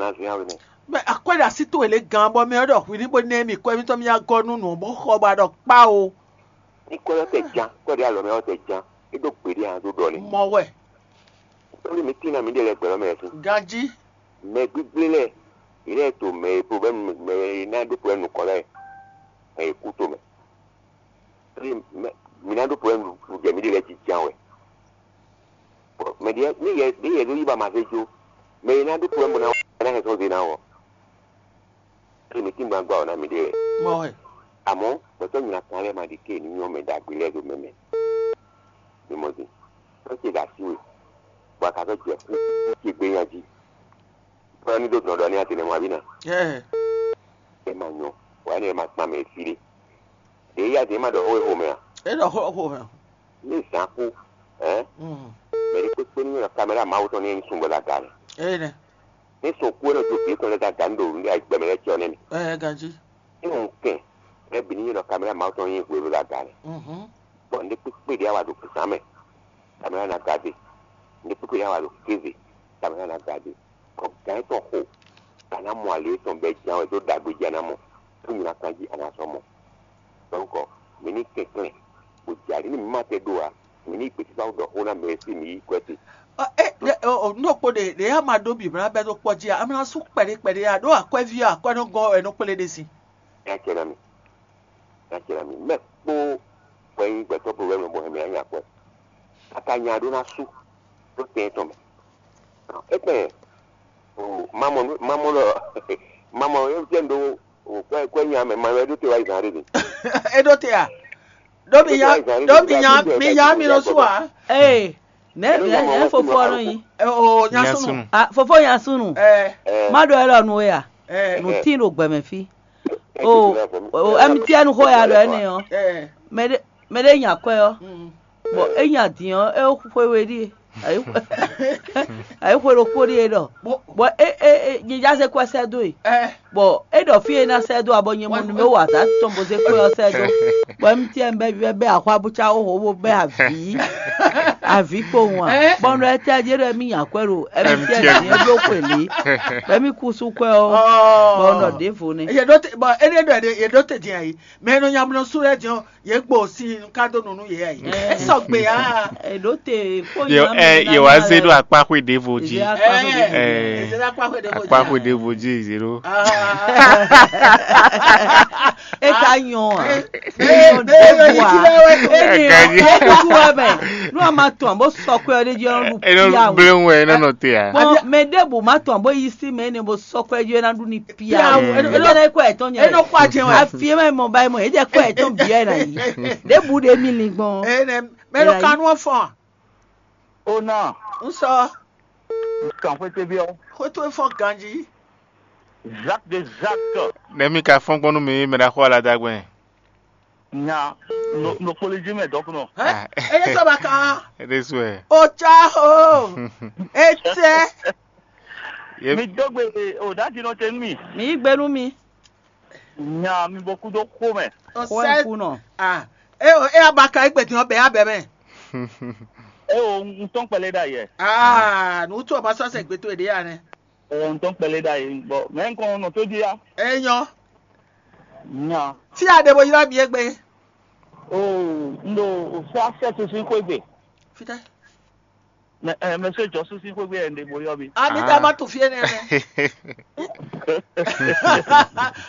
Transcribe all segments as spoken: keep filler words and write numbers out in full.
Azɔn ya wɛ nɛ. Mɛ akwɛ́ɖe así towe lě gán bɔ mɛ ɔ́ ɖɔ hwi ní bó nɛ́ mì kɔ émítɔn mì ná gɔ́ nú nǔ bó xɔ bɔ a ɖɔ kpá o. Ní kɔ ɔ́ tɛ jan, kɔ ɖé alɔ mɛ ɔ́ tɛ jan, é ɖó gbeɖé a ɖó ɖɔ n'i. Mɔ wɛ. Tóli mi tín ná mi ɖe lɛ gbɛ̌ lɔ mɛ fún. Ganjí. Mɛ gbígbé lɛ, yě lɛ to mɛ e problème mɛ e ná ɖó problème nukɔn lɛ, mɛ e kú to mɛ. Tóli mɛ mi ná ɖó problème jɛ mi ɖe lɛ jí jan wɛ. Mɛ ɖě ní yɛ ní yɛ ɖó yí ba ma zé jó. Mɛ e ná ɖó problème bó ná ná hɛn sɔ́ zé ná wɔ. Tóli mi tín gbangba ɔ ná mi ɖe lɛ. Mɔ wɛ. Àmọ́ gbɛtɔ́ nyina kan lɛ́ɛ ma ɖi ké ní nyɔ́ mɛ ɖagbe lɛ́ɛ ɖo mɛ mɛ. Mi mɔ din. Tɔ́ ce ɖo así we, bɔ a ka sɔ́ jɛ kú ce gbé nya jí. Bɔ ní ɖó dɔn ɖɔ ní a tinɛ mɔ abǐ ná. Ɛ É ma nyɔ, wǎ ní e ma kpan mɛ fí ɖé. Ɖě yá ɖě ma ɖɔ xó e xo mɛ a? É ɖɔ xó xo mɛ. Ní zǎn kú, ɛ̌? Mm. Mɛ ɖé kpékpé ní nɔ kaméra Mawu tɔn ní é ní sun bɔ ɖo aga mɛ. É nɛ. Ní sun kú é nɔ jó vǐ tɔn lɛ́ɛ ɖo aga ní ɖo gbɛmɛ lɛ́ɛ cɛ ɔ́ nɛ́ mɛ. Ɛ ganjí. Ní un kɛn, mɛ bǐ ní nɔ kaméra Mawu tɔn nyí hwenu ɖo aga mɛ. Mhm. Bɔ nǔ ɖé kpékpé ɖé a wa ɖo zǎn mɛ. Caméra ná gade. Nǔɖé kpékpé ná wa ɖo kéze. Caméra ná gade. Bɔ gǎn tɔn xo. A nǎ mɔ alě tɔn bɔ é ján wɛ dó ɖagbe jí a nǎ mɔ. Tó nyi ná kan jí a nǎ sɔ́ mɔ. Donc, mǐ ní kɛnklɛ́n, bó jɛ alǐ nú mǐ ma tɛ ɖó ǎ. Mǐ ní gběsísá ɖɔ xó ná mɛ e sí mǐ yí kwɛ́ te. Nú ɖokpó ɖe ɖě a ma ɖó bǐblá bɛ́ ɖó kpɔ́ jí a, a ma ná sú kpɛɖé kpɛɖé a, ɖó akwɛ́ví ɔ́ akwɛ́ nɔ gɔ́ wɛ nɔ kplé ɖé sin. Nya ce ná mi. Nya ce ná mi. Mɛ kpó wɛ nyí gbɛtɔ́ problème bɔ hɛn mǐ ná nya akwɛ́. Kaka nya ɖó ná sú ɖó tɛn tɔn mɛ. Étɛn, o, mamɔ, mamɔ lɔ, mamɔ, é jẹ́ ndo, o, kwɛ, kwɛ nya mɛ, ma wɛ ɖó te wá yi zan ɖé mi. É ɖó te a? Ɖó mi nya, ɖó mi nya, mi nya mi nɔ sú a? Ee, nɛ nɛ nɛ fofo ɔ́ nɔ nyi. Ɛ, o, nya Nya súnnu. Súnnu. Ah, fofo nya súnnu. Ɛ, Má ɖɔ ɛ lɔ nú we a? Ɛ, Nǔ tín ɖo gbɛmɛ fí. O, o, M T N xó ya ɖɔ énɛ́ ɔ́. Ɛ, Mɛ ɖé mɛ ɖé nya kwɛ ɔ́. Mm. Bɔ é nya din ɔ́, é xwe we ɖíe. Ayi xwe ɖokpó ɖíe ɖɔ. Bɔ é é é nyɛ já zé kwɛ́ sɛ́ dó e. Ɛ, Bɔ é ɖɔ fí e ná sɛ́ dó abɔ nyɛ mɔ numero wa azǎn tɔn bó zé kpé ɔ́ sɛ́ dó. Bɔ M T N bɛ́ bɛ́ bɛ́ axwá bó cá xóxó bó bɛ́ avǐ avǐ kpowun a. Ɛ? Bɔ nɔ ɛ tɛ jɛ ɖɔ mí nya kwɛ ɖo M T N dín é bló xwe lě. Bɔ mí kú sú kwɛ ɔ́. Bɔ nɔ ɖěvo nɛ. Yě ɖó te bɔ éɖée ɖɔ yě ɖó te din ayi, mɛ e nɔ nya mlɔ sú lɛ́ɛ din ɔ́, yě gbo sin nukadonu nú yě ayi. Ɛ. É sɔgbe á. Èɖó te kpó Ye- nya ɛ, mɛ Yewá zé ɖó akpáxwé ɖěvo jí. Ɛ, Ɛ, Ezéla kpáxwé ɖé ko akpáxwé jí. Ɖěvo jí zéro. Ah. É ka nyɔ a? Ɛ, É nyɔ ɛ, ɛ, ɖěvo a? Ɛ, Ɛ, é nyɔ. Ɛ, Ɛ kuku wɛ mɛ. Nú a ma tɔn bó sɔkwe ɔ́ ɖé jí ɔ́ ɖu Eno pia o. Gblẽwu ɛ nɔ nɔ te a? Bɔn mɛ ɖěbǔ ma tɔn bó yi sí mɛ énɛ́ bó sɔkwe jí é ná ɖu ní pia Pia o. o. É nɔ kɔ ɛtɔn nyɛ. É nɔ kɔ ajɛ wɛ. Afi é mɛ mɔ ba é mɔ é jɛ kɔ ɛtɔn bia é ná yi. Ɖěbǔ ɖe mi lin gbɔn. Ɛ nɛ mɛ ɖo kanu ɔ́ fɔn. Ona, N sɔ. Kan xwete biɔ. Xwete fɔ ganji. Jacques de Jacques. Ne mi ka fɔn gbɔn nú mi mɛ ɖaxó aladagbɛn. Nya, no no kpoli jí mɛ dɔkunɔ. Ɛ eye sɔ ba kan. Eɖe su ɛ. O ca o. Etsɛ. Ye Mi dɔgbe o dati nɔ te nú mi. Mi yí gbe nú mi. Nya mi bɔ kúdó xó mɛ. O Xó ɛ sɛ kú nɔ. Ah. E o e abaka egbe din ɔbɛ abɛ mɛ. E o ŋutɔn kpɛlɛ ɖa yɛ. Ah, nu tu ɔba sɔ sɛ gbe to ede ya nɛ. E o ŋutɔn kpɛlɛ ɖa yɛ bɔ mɛ nkɔn nɔ tó di ya. Enyɔ. Nya. Tí a ɖe bo ylɔ́ mi egbe. O n ɖo o fɛ afɛ tuntun xó egbe. Fitɛ. Mɛ ɛ mɛ sɛ jɔ susu xwé gbé yɛ ɖe bo yɔ mi. Ami da ma tu fie nɛ mɛ.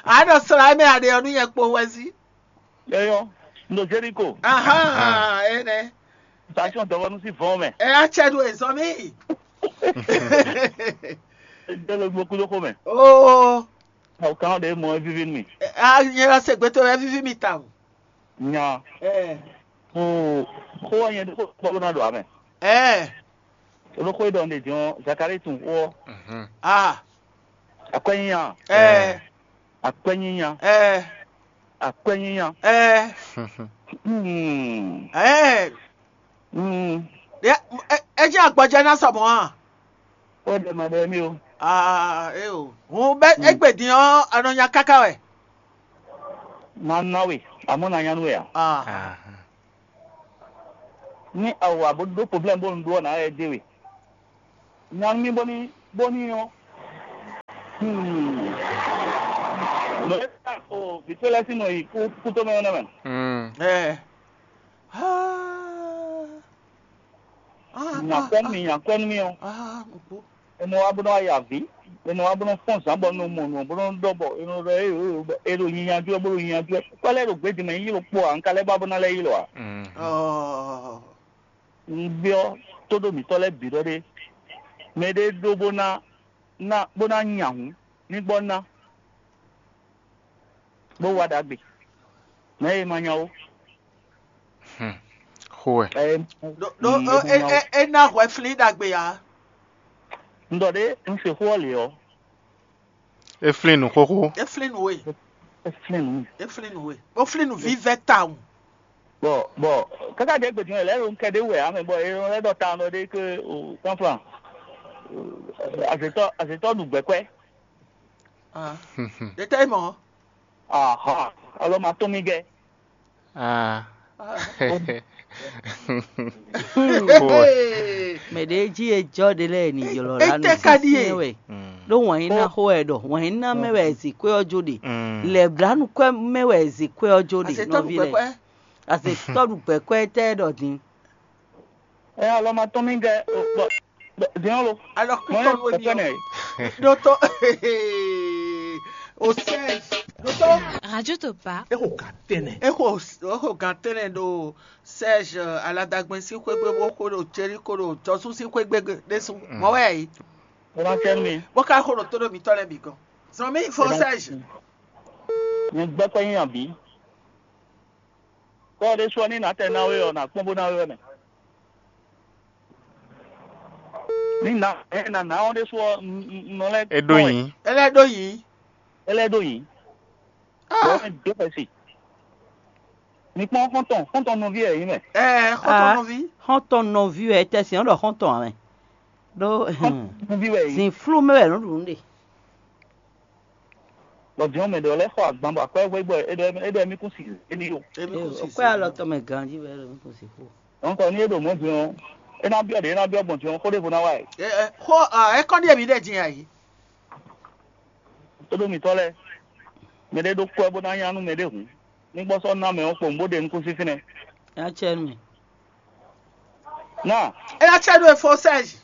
A nɔ sra mɛ a ɖe ɔnu yɛ kpo wɛ si. Yɔyɔ, n ɖo Jeriko. Aha, ene. Station dɔgɔnu si vɔn mɛ. Ɛ a cɛ do ezɔn mi. Dɔlɔ gbɔ kudo xo mɛ. Oo. Awo kan de mɔ vivi mi. A nyɛ la se gbɛtɔ wɛ vivi mi ta o. Nya. Ɛ. Ko ko wa nyɛ ko ko na do amɛ. Ɛ. Olo ko dɔn de jɔn Zakari tun ko. Mhm. Ah. Akwɛnyinya. Ɛ. Akwɛnyinya. Ɛ. Akwɛnyinya. Ɛ. Hmm. Ɛ. Hmm. Ɛ ɛ jẹ́ àgbọ̀jẹ́ náà sọ̀mọ́ hàn. Ó dẹ̀ mọ̀ dẹ̀ mí o. Ah, ẹ o. Hùn bẹ́ ẹgbẹ̀dín ọ́ anọ̀nyà káká wẹ̀. Máa ná wè, àmọ́ nà nyánú wè à. Ah. Ní àwọ̀ àbó dó problème bó ń dó ọ̀nà ẹ̀ dé wè. Nyánú mi bó ní bó ní ọ́. Hmm. Nɔ e ta o vǐ ce lɛ́ɛ sín nɔ yi kú kú tó mɛ ɔ́ nɛ́ mɛ. Mm. Ɛ. Ah. Ah, Nya ah, kwɛ́ nú ah, mì, nya kwɛ́ nú mì ɔ́. Ah, mo kú. È nɔ wá bó nɔ wá ya vǐ, è nɔ wá bó nɔ fɔ́n zǎn bɔ nɔ mɔ nǔ, bó nɔ ɖɔ bɔ è nɔ ɖɔ é è è è ɖo nyi nyajú ɛ, bó ɖo nyi nyajú ɛ. Kpɛ́ lɛ́ɛ ɖo gbědín mɛ yí ɖokpó ǎ, un ka lɛ́ ba bó ná lɛ́ yi lɔ ǎ. Mm. Ɔɔ. Un byɔ́ tóɖó mǐtɔn lɛ́ɛ bǐ ɖɔ ɖé, mɛ ɖé ɖó bó ná ná bó ná nya hǔn, ní gbɔ ná, bó wá ɖagbe. Mɛ e ma nya ó. Hmm. Xó wɛ. Ɛ, Ɖó ɖó Mm, ó, é bó é nya ó. É é ná hwɛ flín ɖagbe ǎ. Un ɖɔ ɖé, un se xó ɔ́ lě ɔ́, É flín nǔ xóxó. É flín nǔ we. É flín nǔ. É flín nǔ we. Bó flín nǔ vívɛ́ tawun. Bɔ bɔ káká ɖě gbèdúnyɔ lɛ́ɛ ló ń kɛ ɖé wɛ ame bɔ é lɛ́ ɖɔ ta nɔ ɖé ké o kánflan azétɔ azétɔ ɖu gbɛkwɛ. Ah. Ɖe tɛ mɔ. Aha, alo ma tún mi gɛ. Ah. Ah. Xó. Mɛ ɖě jí e jɔ ɖe lɛ́ɛ ni ylɔ la nú Étɛ́ ka ɖíe? Sínsɛ́n wɛ. Mm. Ɖó wǎn yí ná xó wɛ ɖɔ wǎn yí ná mɛ wɛ zikwé ɔ́ jó ɖe. Mm. Lɛ̌blánúkwɛ́ mɛ wɛ zikwé ɔ́ jó ɖe Azétɔ nɔví lɛ́ɛ. Azétɔ ɖu gbɛkwɛ́ tɛ ɖɔ din. Ɛ alɔ ma tɔn mi gɛ bɔ diɔn lo. Alɔ kútɔ ló ní ọ. Dótó o Serge dótó. Radio Topa. Exo gantɛnɛ. Exo exo gantɛnɛ ɖo Serge aladagbɛn sín xwé gbé bó xó ɖo Jeriko ɖo Jɔsú sín xwé gbé ɖésú. Mɔ wɛ yí. Ẹ máa kẹ́ mi. Bó ká xó ɖo tó ɖo mǐtɔn lɛ́ɛ bǐ gɔn. Zɔn mí fo Serge. Nyɛ gbɛkpɛ nyi abǐ. Kɔ ɖésú ɔ́, ní nǎ tɛ ná we ɔ́, nǎ kpɔ́n bó ná we wɛ mɛ. Ní nǎ ɛ nǎ ná ɔ́ ɖésú ɔ́, nɔ lɛ́ É ɖó yǐ. É lɛ́ ɖó yǐ. É lɛ́ ɖó yǐ. Bɔn é dó xɛsi. Mi kpɔ́n xɔ́ntɔn, xɔ́ntɔn nɔví ɛ yǐ mɛ. Ɛ xɔ́ntɔn nɔví. Xɔ́ntɔn nɔví wɛ tɛ sɛn ɔ́ ɖɔ xɔ́ntɔn ǎ mɛ. Ɖó Xɔ́ntɔn nɔví wɛ yǐ. Zǐnflú mɛ wɛ nǔ ɖu nǔ ɖe. Bɔ jɔn mɛ ɖɔ lɛ́ xɔ agban bɔ akwɛ́ hwé bɔ é ɖɔ é ɖɔ émí kún si éní o. Émí kún si Kwɛ alɔ tɔn mɛ ganjí wɛ ɖo mí kún si xó. Dɔnku ní é ɖo mɔ̌ din ɔ́, é ná byɔ́ ɖě é ná byɔ́ gbɔn din ɔ́, xó ɖěvo ná wa ɛ. Ɛ, ɛ, xó ɛ, é kɔn ɖíe mǐ ɖɛ din ayǐ. Tóɖó mǐtɔn lɛ́ɛ, mɛ ɖé ɖó kwɛ́ bó ná nya nú mɛ ɖé hǔn, ní gbɔ́ sɔ́ ná mɛ ɔ́ kpowun bó ɖe nukúnsin fínɛ́. Nya cɛ nú mì. Ná É ná cɛ nú efo Serge.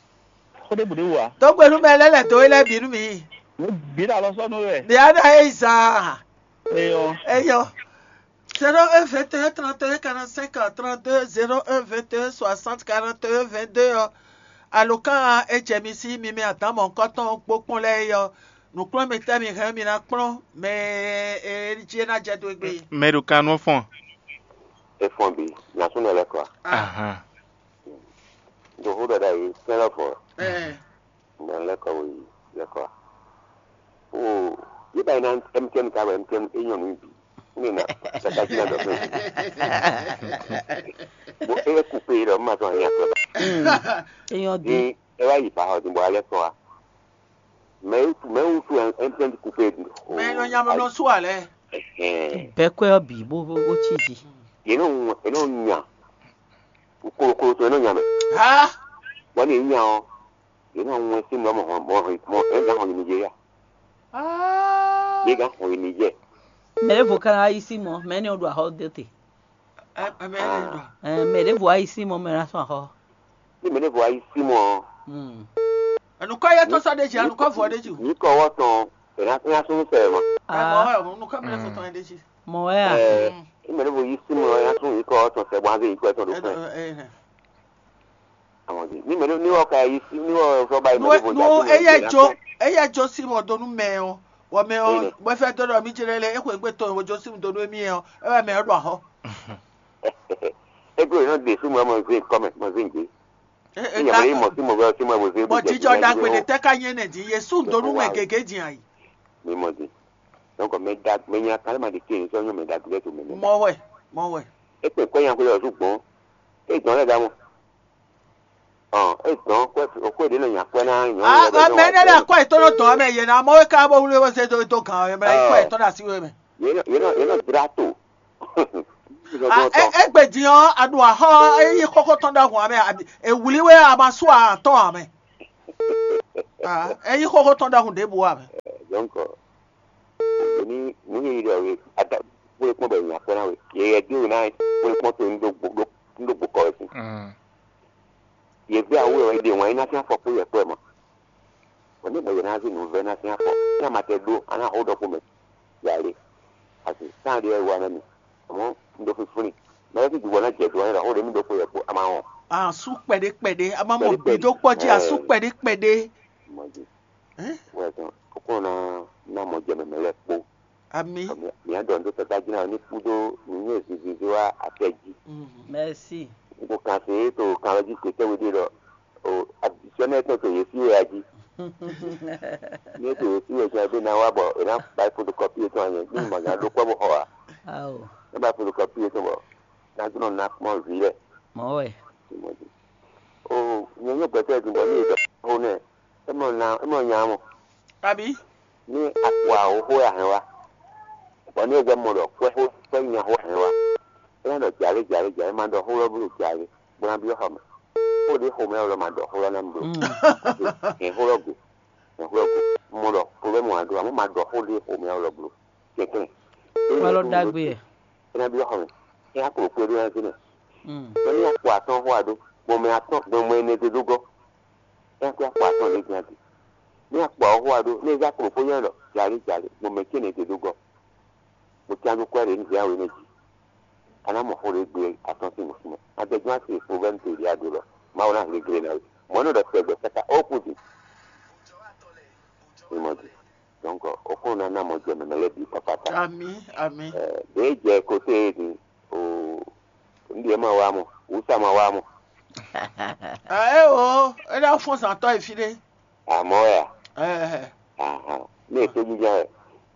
Xó ɖěbǔ ɖé wú ǎ. Dó gbe nú mɛ lɛ́ lɛ̌ dó é lɛ́ɛ bǐ nú mǐ. Ní bǐ ɖo alɔ sɔ́ nú we wɛ. Ɖě á ɖɔ é yi zaa. Eyɔ. Eyɔ. Zéro un vingt et un trente et un quarante-cinq trente-deux, zéro un vingt et un soixante quarante et un vingt-deux ɔ́, alokán e jɛ mi sí mi mɛ adǎn mɔ̌hunkɔtɔn kpókpɔ́n lɛ́ɛ é ɔ́, nǔkplɔ́nmɛtɛ́ mi hɛn mi ná kplɔ́n mɛ e jí é ná jɛ dó égbé. Mɛ ɖo kan nɔ fɔn. E fɔn bi, nya súnɔ lɛ́ kɔ a? Ahan. Ɖo xó ɖaɖa yìí, sɛ́n lɔ fɔ. Ɛɛ. Mɛ lɛ́ kɔ wɛ yi lɛ́ kɔ a? O, yé ba yi na M T N ka wɛ M T N e nyɔ nǔ bǐ. Ne na kaka jí na dɔ fún mi. Bo e ku pe ɖɔ ma tɔn nya tɔ. Eyɔn di. Ni e wa yi ba xɔ din bɔ alɛ kɔ a? Mɛ mɛ wutu M T N ku pe. Mɛ nɔ nya mɛ nɔ su alɛ. Ɛhɛn. Bɛkwɛ ɔ́ bǐ bó bó bó cí jí. Yě nɔ ŋu yě nɔ nya. Kolokolo tɔn yě nɔ nya mɛ. Ha. Bɔ ni yě nya ɔ, yě nɔ ŋu sín mɔ mɔ mɔ mɔ ɛ gán xɔ yi Nigeria. Ah. Yě gán xɔ yi Niger. Mɛ ɖěvo ka ná yi sí mɔ, mɛ énɛ́ ɔ́ ɖo axɔ dó te. Ɛ ɛ mɛ énɛ́ ɖɔ. Ɛ, mɛ ɖěvo wá yi sí mɔ, mɛ ná sɔn axɔ. Ní mɛ ɖěvo wá yi sí mɔ. Hmm. Ẹnu kọ́ yẹ tó sọ ɖe jì, ẹnu kọ́ vɔ ɖe jì. Ní kọ́ wọ́ tɔn, ẹ̀ ná ẹ̀ ná sún sẹ̀ mọ́. Ẹ mọ Ah, ẹ mọ nukọ́ mi lè fọ tán ẹ ɖe jì. Mɔ wɛ a? Ɛ, ní mɛ ɖěvo yi sí mɔ, ẹ̀ ná sún yìí kọ́ wọ́ tán sẹ̀ bọ́ á dé yìí kọ́ ẹ̀ tán ló Ẹ fún ẹ. Ẹ ẹ. Àwọn di. Ní mɛ ní wọ́n ka yi sí, ní wọ́n sọ báyìí mɛ Nú ɖěvo jà nú sí mɔ eyɛ ìgbéra jo fún. Eyɛ jo sí mɔ donu mɛ o. Wɔ mɛ o. Bɔ fɛ dɔ dɔ mi jẹ lɛ, e ko egbe tɔn o jo sí mɔ donu mi o. E wɛ mɛ o ɖɔ ahɔ. Ego yìí náà dè súnmọ́ ọmọ zé kọ́mẹ̀ mọ zé ǹjẹ́. Ní ìyàwó yìí mọ̀ sí mọ̀ bẹ́ẹ̀ sí mọ̀ bó zé bó Bɔ jẹ́ jijɔ jẹ́ dagbe jẹ́ de tɛ ka nye ne di Yesu donu mɛ gege di ayi. Mi mọ̀ di. Donc mɛ da mɛ nya kan ma di ke sɔ nyɔ mɛ da gbe to mɛ mɛ. Mɔ wɛ, mɔ wɛ. E pe kɔ nya ko yɔ zu gbɔn. E gbɔn lɛ da mɔ. Ɔ, e gbɔn kɔ kɔ de na nya kɔ na nyɔ. Ah, mɛ ne le akɔ etɔ no tɔ mɛ ye na mɔ ka bo wuli wo se do do gan mɛ ko etɔ da si we mɛ. Ye no ye no ye no drato. Ah, e e gbe di ɔ adu ahɔ e yi koko tɔn da hun amɛ abi e wuli we ama su atɔ amɛ. Ah, e yi koko tɔn da hun de bu amɛ. Donc, ní nǔ yíyí ɖɔ we ada kpó kpɔ́n bɔ nya kpɔ́n ná we. Yɛ yɛ dí we ná kpó kpɔ́n to ní ɖó gbó kɔ wɛ sín. Yɛ gbé awu wɛ ɖe wǎn yí ná sín afɔ kpó yɛ kpɔ́ ɛ mɔ. Bɔ ní mɔ yɛ ná zí nǔ vɛ́ ná sín afɔ. Ní a ma tɛ ɖó a ná xó ɖɔ kpó mɛ. Yà lé. Asi sán ɖé wá ná mi. Àmọ́ un ɖó fífún ni. Mɛ lɛ́ sí dùgbɔ ná jɛ do wá ní ɖɔ xó ɖé mí ɖó kpó yɛ kpó a ma wɔn. Asú kpɛɖé kpɛɖé, a ma mɔ Kpɛɖé kpɛɖé. Gbidó kpɔ́ jí asú Ɛ. Kpɛɖé kpɛɖé. Mɔ jí. Ɛ? Wɛ tɔn. Kókó ná ná mɔ jɛ mɛmɛ lɛ́ kpó. Ami. Mǐ á ɖɔ nǔ ɖó tata jí ná ní kúdó nǔnywɛ́ zizizi wá atɛ jí. Merci. N ko kan se é to kan lɔ jí kpětɛ́ we ɖé ɖɔ o adisɔnɛ tɔn to yě sí wɛ a jí. Ní é to yě sí wɛ tɔn ɛ bí ná wá bɔ è ná ba fotokɔpi yětɔn anyɛ ní mɔ gǎn ɖó kpɔ́ bó xɔ a. Ao. Ná ba fotokɔpi yětɔn bɔ ná dó nɔ ná kpɔ́n vǐ lɛ. Mɔ̌ wɛ. O nyɛ nyɛ gbɛtɔ́ din bɔ ní è ɖɔ xó nɛ é mɔ nya é mɔ nya mɔ. Abi. Ní a kpo awo xó wɛ a hɛn wá, bɔ ní e gbɛ́ mɔ ɖɔ kwɛ́ xó kwɛ́ nya xó a hɛn wá, é ná ɖɔ jǎwe jǎwe jǎwe ma ɖɔ xó lɔ bló jǎwe bó ná byɔ́ xɔ mɛ. Xó ɖé xomɛ wɛ lɔ ma ɖɔ xó lɔ ná mi bló. Hɛn xó lɔ go, hɛn xó lɔ go. Mɔ ɖɔ problème wá ɖó amɔ́ ma ɖɔ xó ɖé xomɛ wɛ lɔ bló. Kɛnklɛ́n. Wá lɔ ɖagbe ɛ. É ná byɔ́ xɔ mɛ. É ná klo xwé ɖó ná zé mɛ. Bɔ ní a kpo atɔ́n xó a ɖó, gbɔn mɛ atɔ́n gbɔn mɛ ɛnɛ ɖé ɖó gɔ́. É ná kó akpo atɔ́n ɖé dín a ɖi. Ní akpo ɔ́ xó a ɖó, ní é zá klo xó nyɛ ɖɔ jǎli jǎli, gbɔn mɛ cénɛ ɖé ɖó gɔ́. Mo cyán dó kwɛ́ ɖě ní zě awe nɛ́ jí. A ná mɔ xó ɖé gbe atɔ́n sín nǔsúnnú. Adɛgbɛ́n asi problème to ɖě a ɖǒ lɔ. Mawu ná hlé glé ná we. Mɔ̌ nɔ ɖɔ tɛgbɛ káká ó kú din. Mi mɔ din. Donc, o kó ná ná mɔ jɛ mɛmɛ lɛ́ɛ bǐ kpakpata. Ami, ami. Ɛ, ɖě jɛ kote e din o, un ɖe ma wa mɔ, wusa ma wa mɔ. Ɛ o, é ná fɔ́n zǎntɔ́ e fí ɖé. Amɔ̌ wɛ a? Ɛ, Ahan. Ní ètò jíjá wɛ,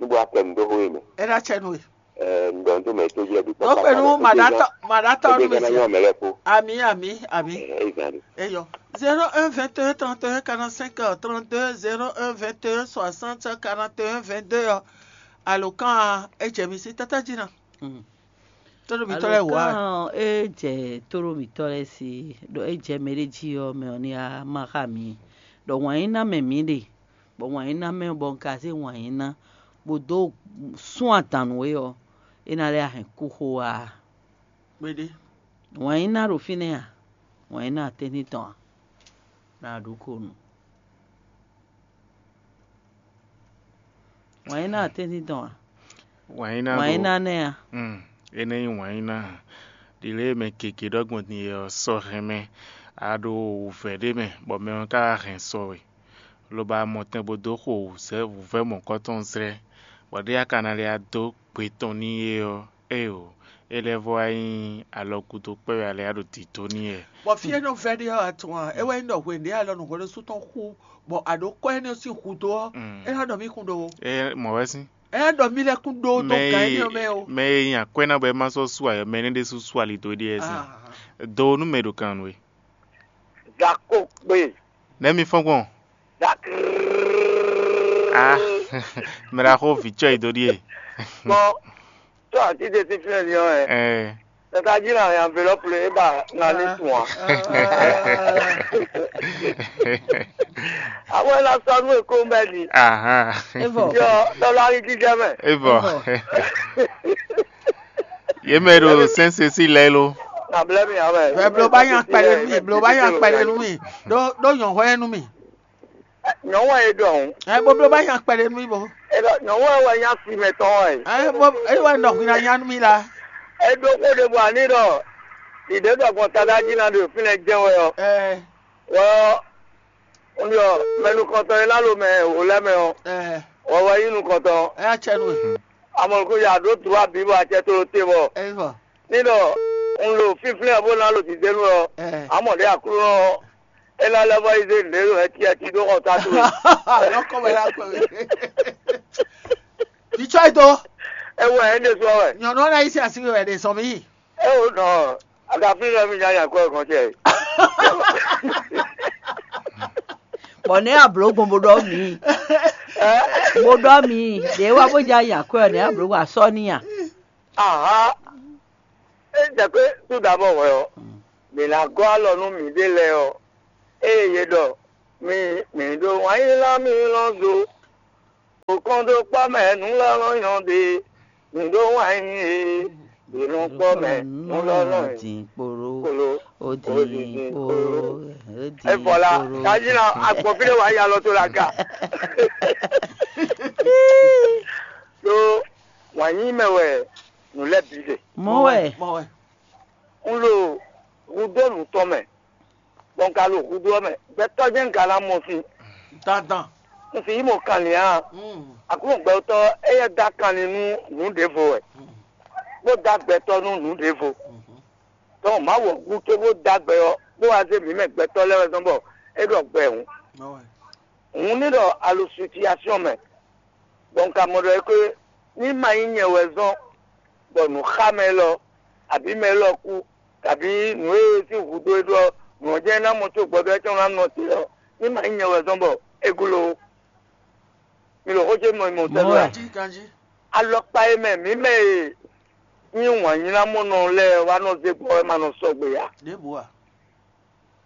níbo a kɛ nu dó xó e mɛ? É ná cɛ nu e. Ɛ, un ɖɔ nu tó mɛ ètò jí wɛ bǐ kpakpata. Ó kpɛ nú màɖátɔ́ màɖátɔ́ nú mi jí. Ami, ami, ami. Ɛ, é zan ɖe. Eyɔ. Zéro un vingt et un trente et un quarante-cinq trente-deux, zéro un vingt et un soixante quarante et un vingt-deux ɔ. Alǒkan ɔ́, é jɛ mi sí tátájí ná. Tóɖó mitɔ́ lɛ́ɛ wǒ a? Alǒkan ɔ́, é jɛ tóɖó mitɔ́ lɛ́ɛ sí, ɖɔ é jɛ mɛɖé jí ɔ́, mɛ ɔ́ ní á má xá mi, ɖɔ wǎn yí ná mɛ mǐ ɖe, bɔ wǎn yí ná mɛ bɔ un ka zé wǎn yí ná, bó dó sún adǎn nú we ɔ́, é ná lɛ́ hɛn kú xó wá a? Kpéɖé. Wǎn yí ná ɖo fínɛ́ a? Wǎn yí ná atɛ́ntin tɔn a? Ná ɖó ko nu. Wǎn yí ná atɛ́ntin tɔn a? Wǎn yí ná Wǎn yí ɖo ná nɛ́ a? Mm, énɛ́ nyí wǎn yí ná. Ɖi lě e mɛ gěgé ɖɔ gbɔn din é ɔ́, sɔ hɛn mɛ. A ɖo wǔvɛ́ ɖé mɛ, bɔ mɛ ɔ́ ka hɛn sɔ we, lobo amɔtɛn bó dó xo wǔzɛ́ wǔvɛ́ mɔ̌kɔ́ tɔn zlɛ́, bɔ ɖé a ka ná lɛ́ dó gbe tɔn n'i é ɔ́, éeǒ, é lɛ́ vɔ wá nyí alɔ gúdo kpɛ́ wɛ a lɛ́ ɖo dǐdó n'i wɛ. Bɔ fí e nɔ vɛ́ ɖe ɔ́, a tunwun a? É wɛ nyí ɖɔ hwenu ɖě alɔ nǔhwɛ́ɖósú tɔn xú, bɔ a ɖǒ kɔ́ énɛ́ sín hudó ɔ́, é ná ɖɔ mí kún ɖó ó. É mɔ̌ wɛ sín. É ná ɖɔ mí lɛ́ kún ɖó ó dó Mɛ gǎn énɛ́ ɔ́ mɛ ó. Mɛ e nyi akwɛ́ ná bɔ é má sɔ́ sú ayɔ mɛ énɛ́ ɖésú sú ali dó é ɖíe wɛ sín. Ah. Do nú mɛ ɖo kan nú we. Gakó kpé. Nɛ̌ mi fɔ́n gbɔn? Gak. Ah, mɛ ɖaxó vǐ cɔ yi dó ɖíe. Bɔ tó àti ɖe sí fínɛ́ din ɔ́ ɛ. Ɛ. Tata jí na yan enveloppe le eba na ní tún a. Àwọn ẹ̀la sọ nú èkó mbẹ́ ni. Ahan. Evɔ. Yọ tọ́lá rí jíjẹ́ mẹ́. Evɔ. Evɔ. Yě mɛ ɖo sɛ́nsɛsí lɛ́ɛ ló. Nàbílẹ́ mi àwọn ẹ̀. Ɛ blo bá yan kpɛɖe nú mi, blo bá yan kpɛɖe nú mi. Ɖó ɖó nyɔ̌hɔ́ yɛ nú mi. Nyɔ̌nu wɛ é ɖɔ ɔ́. Ɛ bó bló bá nya kpɛɖé nú mì bó. É ɖɔ nyɔ̌nu wɛ wɛ nya si mɛ tɔn wɛ. Ɛ bó é wɛ nɔ hwin ná nya nú mì la. É ɖó xó ɖěbǔ ani ɖɔ ɖiɖě ɖɔ gbɔn Tadájí ná ɖo fínɛ́ jɛ́n wɛ ɔ́. Ɛ Wɛ ɔ́, un ɖɔ mɛ nukɔntɔn e ná ɖo mɛ wǒ lɛ́ɛ mɛ ɔ́, ɛ wɛ wɛ nyí nukɔntɔn. Ɛ acɛ nú we. Amɔ̌ nukún ya ɖó tu wá bǐ bɔ acɛ tló te bɔ. Ɛ vɔ. Ní ɖɔ un ɖo fínflɛ́n ɔ́ bó ná ɖo dǐndénu ɔ́, Ɛ. Amɔ̌ ɖé Aklúnɔ ɔ́, é ná lɛ́ vɔ yi zé nǔɖé ɖo ɛtí ɛtí ɖó xɔ ta towe. Lɔkɔ wɛ la kɔ. Vitsɔ yi do. Ewɔ ɛ ɖe sɔ wɛ. Nyɔnu ɔ́ ná yi sí así wɛ ɖe sɔ mí. Ewo nɔ, agafi lɛ mi nya nya kɔ kɔn cɛ. Bɔ nɛ ablo gbɔn bo ɖɔ mi. Ɛ? Bo ɖɔ mi. Ɖe wa bo ja nya kɔ nɛ ablo wa sɔ ni ya. Aha. E jɛ pé tout d'abord wɛ ɔ, mi na gɔ alɔ nú mi ɖe lɛ ɔ, eye ye ɖɔ mi mi ɖo wanyila mi lɔ do. Kɔn ɖo kpɔ́ mɛ nǔ lɔlɔ́ nyɔ ɖe, nǔ ɖó wɛn nyí e, ɖě nɔ kpɔ́ mɛ nǔ lɔlɔ́ nyí kpolo, ó dín kpolo, ó dín kpolo. Evɔ la, kají na agbɔn fí ɖé wǎ yi alɔ tó la ga. Ɖó wǎn nyí mɛ wɛ nǔ lɛ́ɛ bǐ ɖe. Mɔ̌ wɛ. Mɔ̌ wɛ. Un ɖo hudó nǔ tɔn mɛ, bɔ un ka ɖo hudó ɔ́ mɛ. Gbɛtɔ́ jɛ́n un ka ná mɔ sin. Dandan. Un sì yí mɔ kanlin ǎ. Mm. Aklúnɔ gbɛtɔ́ éyɛ́ dó akanlin nú nǔ ɖěvo wɛ, bó dó agbɛtɔ́ nú nǔ ɖěvo. Mhm. Donc Mawu ɔ́ gúdo bó dó agbɛ ɔ́, bó wá zé mǐ mɛ gbɛtɔ́ lɛ́ɛ wɛ zɔ́n bɔ é ɖɔ gbɛ hǔn. Mɔ̌ wɛ. Hǔn ní ɖɔ a ɖo situation mɛ, bɔ un ka mɔ ɖɔ é xwé ní ma nyí nyɛ wɛ zɔ́n bɔ nǔ xa mɛ élɔ́, abǐ mɛ élɔ́ kú, kabǐ nǔ e sín hǔ dó é ɖó ɔ́, nǔ ɔ́ jɛ́n é ná mɔ có gbɔdɔ́ é tɔn ná nɔ te ɔ́, ní ma nyí nyɛ wɛ zɔ́n bɔ é gló ó. Mi ɖo xó ce mɔ mɔ tɛ́ Mɔ̌ wɛ. Ganjí, ganjí. Alɔkpa e mɛ mǐ mɛ e nyí wǎnyílámɔnɔ lɛ́ɛ wá nɔ zé gbɔ wɛ ma nɔ sɔgbe ǎ. Ɖěbǔ a?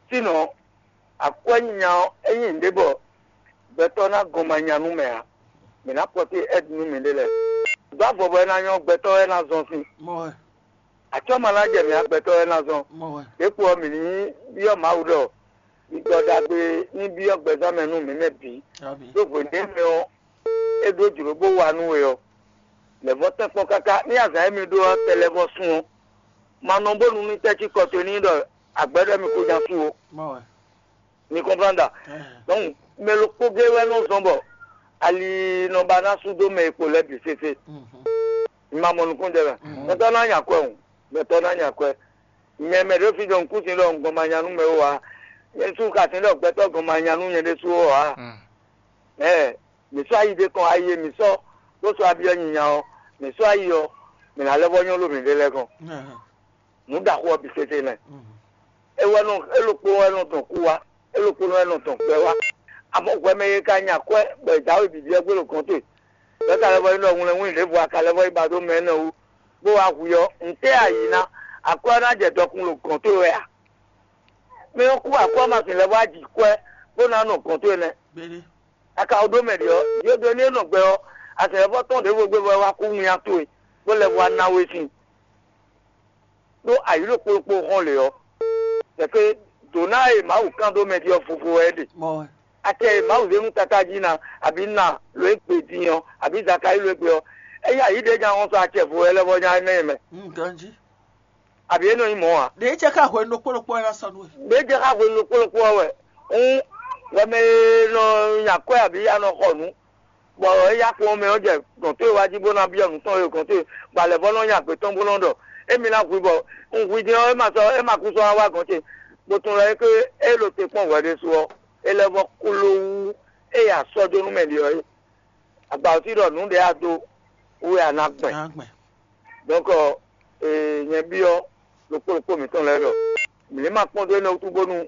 Sínɔ, akwɛ́ nyanya ɔ́, é nyí nǔɖé bɔ gbɛtɔ́ ná gɔn ma nya nú mɛ ǎ. Mǐ ná kpɔtí ɛ́d nú mǐɖée lɛ́ɛ. Dó avɔ bɔ é ná nyɔ́ gbɛtɔ́ wɛ ná zɔn sín. Mɔ̌ wɛ. Acɔ́ ma ná jɛ mǐ agbɛtɔ́ wɛ ná zɔn. Mɔ̌ wɛ. Ɖěkpo ɔ́, mǐ ní byɔ́ Mawu ɖɔ gbígbɔ ɖagbe ní byɔ́ gbɛzán mɛ nú mǐ mɛ bǐ. Amǐ. Ɖó hwěɖé mɛ ɔ́, é ɖó jlǒ bó wa nú we ɔ́, lɛ̌ vɔ́ tɛ́nkpɔ́n káká ní azǎn e mi ɖó ɔ́ tɛ lɛ́ vɔ́ sun ɔ́, ma nɔ bónú ní tɛ́ cí kɔ towe ní ɖɔ agbɛ́ ɖɔ mi ko nya su ó. Mɔ̌ wɛ. Mi kɔnplan ɖa. Ɛɛ. Donc mɛ ɖokpó gé wɛ nɔ zɔn bɔ ali nɔ ba ná sú dó mɛ e kpo lɛ́ɛ bǐ sésé. Mhm. Mi ma mɔ nukúnnú jɛ mɛ. Mhm. Gbɛtɔ́ ná nya kwɛ o. Gbɛtɔ́ ná nya kwɛ. Nyɛ mɛ ɖě fi ɖɔ nukúnsin ɖɔ un gɔn ma nya nú mɛ ó ǎ. Nyɛ sú ka sin ɖɔ gbɛtɔ́ gɔn ma nya nú nyɛ ɖésú ó ǎ. Mm. Ɛɛ, mǐ sɔ́ ayi ɖé kɔn ayi e mǐ sɔ́ bó sɔ́ abyɔ́ nyinya ɔ́, mǐ sɔ́ ayi ɔ́, mǐ ná lɛ́ vɔ́ nyɔ́ ɖo mǐɖée lɛ́ɛ gɔ́n. Ɛhɛn. Nǔ ɖaxó ɔ́ bǐ sésé nɛ́. Mhm. É wɛ nɔ é ɖokpó wɛ nɔ tɔn kú wá, é ɖokpó wɛ nɔ tɔn gbɛ wá. Amɔ̌ hwɛ mɛ e ka nya kwɛ́ bɔ è jǎwe bǐbí ɔ́ gbé ɖo gɔ̌n towe. Bɔ é ka lɛ́ vɔ nyí ɖɔ wlɛnwún ɖěvo a ka lɛ́ vɔ yi ba dó mɛ énɛ́ wú, bó wá hu i ɔ́, ntɛ́ɛ a yǐ ná? Akwɛ́ ɔ́ ná jɛ dɔkun ɖo gɔ̌n towe wɛ a? Mɛ ɔ́ kú akwɛ́ ɔ́ ma sixú lɛ́ vɔ yi ji kwɛ́ bó ná nɔ gɔ̌n towe nɛ́. Gbéɖé. A ka ɖó mɛ ɖě ɔ́, yě ɖó ní é nɔ gbɛ ɔ́, a sɛ́ vɔ́ tɔn ɖěvo gbé bɔ é wá kú winnyá towe, bó lɛ́ vɔ wá ná we sin. Ɖó ayǐ ɖo kplokplo hɔn lě ɔ́, tɛ́ dǒ ná e Mawu kán dó mɛ ɖi ɔ́ vovo wɛ é ɖe. Mɔ̌ wɛ. Acɛ e Mawu zé nú tatájí ná, abǐ ná lo e gbe din ɔ́, abǐ Zakalíi lo e gbe ɔ́, é nyí ayǐ ɖě nya hɔn sɔ acɛ vo wɛ lɛ́ vɔ nya énɛ́ mɛ. Un ganjí. Abǐ é nɔ nyí mɔ̌ ǎ. Ɖě jɛ xá hwenu ɖokpó ɖokpó wɛ ná sɔ́ nú we. Ɖě jɛ xá hwenu ɖokpó ɖokpó ɔ́ wɛ. Hǔn, hwɛ mɛ e nɔ nya kwɛ́ abǐ a nɔ xɔ nǔ, bɔ é yá kpɔ́n mɛ ɔ́ jɛ gɔ̌n towe wá jí bó ná byɔ́ nǔ tɔn e gɔ̌n towe, bɔ alɛ̌ vɔ́ nɔ nya gbě tɔn bó nɔ́ ɖɔ: Émi ná hu i bɔ un hu i din ɔ́, é ma sɔ́ é ma kú sɔ́ wá wá gɔ̌n ce. Gbotun lɔ é ké é ɖo te kpɔ́n hwɛ ɖésú ɔ́, é lɛ́ vɔ́ kló wú ée a sɔ́ dó nú mɛ ɖě ɔ́ é. Agba ɔ́ sí ɖɔ nǔ ɖě a dó wú wɛ a nǎ gbɛn. Ná gbɛn. Donc, ee, nyɛ byɔ́ ɖokpó ɖokpó mǐtɔn lɛ́ɛ ɖɔ mǐ ní ma kpɔ́n dó énɛ́ wútu bónú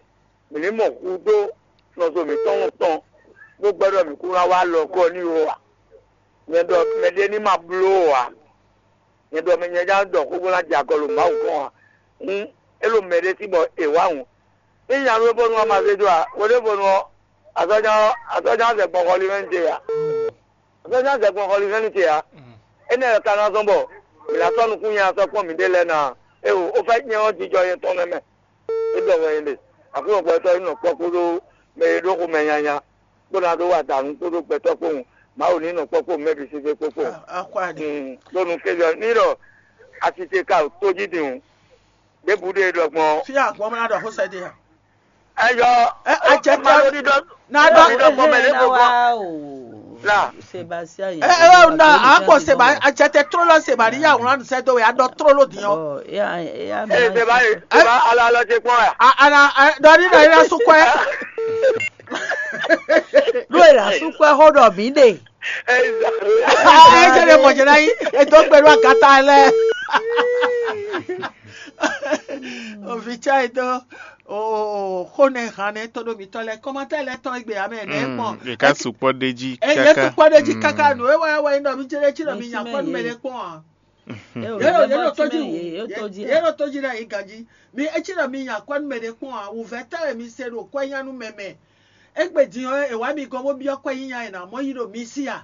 mǐ ní mɔ hu dó nɔzo mǐtɔn tɔn bó gbɛ́ ɖɔ mǐ kún ná wá alɔ gɔ́ n'i ó ǎ. Nyɛ ɖɔ mɛɖé ní ma bló ó ǎ. Nyɛ ɖɔ mɛ nyɛ já ɖɔ xó bó ná jɛ agɔ ɖo Mawu gɔ́n ǎ. Hǔn é ɖo mɛɖé sí bɔ è wǎ hǔn. Ní nya nú é bónú wá ma zé dó ǎ. Hweɖěvɔ́nu ɔ́, azɔ̌ nya ɔ́, azɔ̌ nya ɔ́ zɛ gbɔn xɔlihɛ́nnu ce ǎ. Azɔ̌ nya ɔ́ zɛ gbɔn xɔlihɛ́nnu ce ǎ. Énɛ́ wɛ ka ná zɔ́n bɔ mǐ ná sɔ́ nukúnnya sɔ́ kpɔ́n mǐɖée lɛ́ɛ ná? Éwo, ó fɛ́ nyɛ ɔ́ jijɔ nyɛ tɔn nɛ́ mɛ. É ɖɔ wɛ nyɛ ɖe. Aklúnɔ gbɛtɔ́ nyí nɔ kpɔ́ kpódó mɛ e ɖó xomɛ nyanya, bó ná ɖó wa dǎnú kpódó gbɛtɔ́ kpowun. Mawu ní nɔ kpɔ́ kpowun mɛ bǐ sésé kpó kpowun. Akwa ɖe. Bónú kéjɔ ní ɖɔ asi ce ka tójí din hǔn. Ɖěbǔ ɖe ɖɔ gbɔn. Fí agbɔn mɛ ná ɖɔ xó sɛ ɖe ya. Eyɔ. Ɛ, ajɛ ma tɔ ɖo ɖiɖɔ. Na ɖɔ. Ɖiɖɔ gbɔn mɛ lé gbogbo. La. Sébastien yɛ. Ɛ, ɛ, na akpɔ seba ajɛtɛ trolo seba ni ya wlan sɛ do ya dɔ trolo diɔ. Ɔ ya ya mi. Ee, seba ye, seba ala ala ce kpɔn ya. A ana dɔ ni na ila sukɔɛ. Ɖó e la sukɔɛ xó ɖɔ mǐ ɖe. Ee, ɛ jɛ ɖe mɔjɛ na yi edo gbe ɖo agata lɛ. Ovi tsa yi do. O xó nɛ hàn nɛ tɔn ɖo mǐtɔn lɛ kɔmatɛ lɛ tɔn egbe amɛ nɛ kpɔn. Ɖeka sukpɔ ɖe jí. Eye kaka sukpɔ ɖe jí kaka nù ewɔ ewɔ yi nɔ mi jɛ ɖe jí nɔ mi nya kpɔ numɛ ɖe kpɔn a. Yɛlɛ yɛlɛ tɔjú yɛlɛ tɔjú la yi ganji mi etsi nɔ mi nya kpɔ numɛ ɖe kpɔn a wuvɛ tɛ mi se ɖo kɔ nya nu mɛmɛ. Egbe din ɔ ewa mi gɔn bó biɔ kɔ yi nya yina mɔ yi ɖo mi si a.